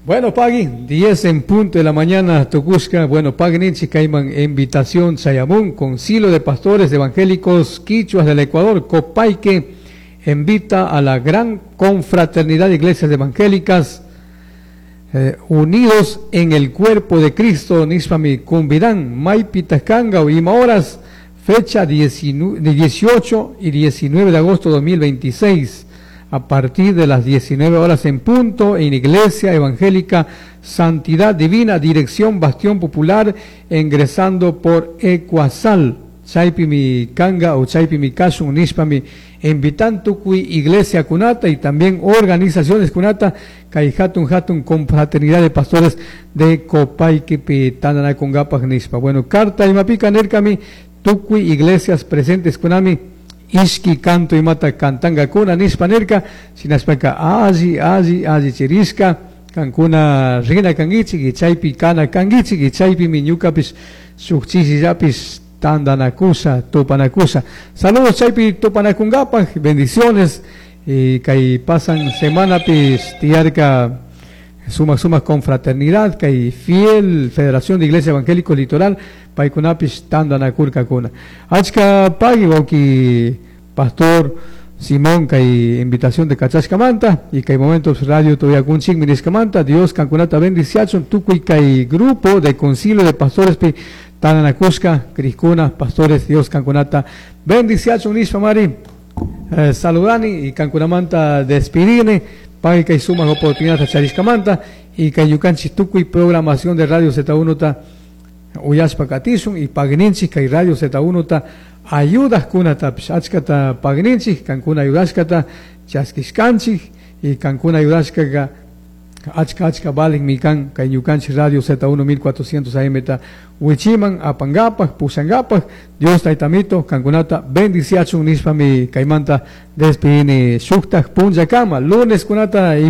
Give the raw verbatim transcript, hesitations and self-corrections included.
Bueno, pagui, diez en punto de la mañana, tucushca. Bueno, pagui ninchi kayman invitación chayamun, Concilio de Pastores Evangélicos Quichuas del Ecuador, Copaique, invita a la gran confraternidad de iglesias evangélicas eh, unidos en el cuerpo de Cristo, nishpami cumbidan, maypitaj canga, ima horas, fecha dieciocho y diecinueve de agosto de dos mil veintiséis, a partir de las diecinueve horas en punto, en Iglesia Evangélica Santidad Divina, dirección Bastión Popular, ingresando por Ecuasal. Chaypimi canga o chaypimi kashun nishpami invitan tucui iglesia kunata y también organizaciones kunata kay hatun hatun confraternidad de pastores de Copaiquipi tandanakungapaj nishpa. Bueno, carta imapika nirkami tucui iglesias presentes kunami ishki canto imata cantangakuna nishpa nirka. Shinashpaka alli alli alli chirishka kankuna rina kanguichik y chaypi kana kanguichik y chaypimi ñukapish shuk chishillapish tandanakusha, tupanakusha. Saludos, chaypi tupanakungapaj, bendiciones. Y kay pasan semanapish tiyarka sumak sumak confraternidad, kay fiel Federación de Iglesia Evangélico Litoral, paykunapish tandanakurkakuna. Achka pagui, wawki pastor Simón, kay invitación de kachashkamanta y kay momentos radio uyakunchikmi nishkamanta. Dios kankunata bendiciachun, tukuy kay grupo de concilio de pastores pi tandanakushka crijkuna, pastores, Dios kankunata bendiciachun nishpamari eh, saludani y kankunamanta despidini. Pagui kay sumak oportunidad charishkamanta y kay ñukanchik tukuy programación de Radio Z uno ta uyashpa katishun y pagui ninchik kay Radio Z uno ta ayudajkunatapish achkata pagui ninchik. Kankuna ayudashkata chaskishkanchik y kankuna ayudashkaka achka achka valinmi kan kay ñukanchik Radio Z uno mil cuatrocientos A M ta wichiman apangapaj, pushangapaj. Dios Taytamito kankunata bendiciachun nishpami kaymanta despidini. Shuktaj punllakama, lunes kunata.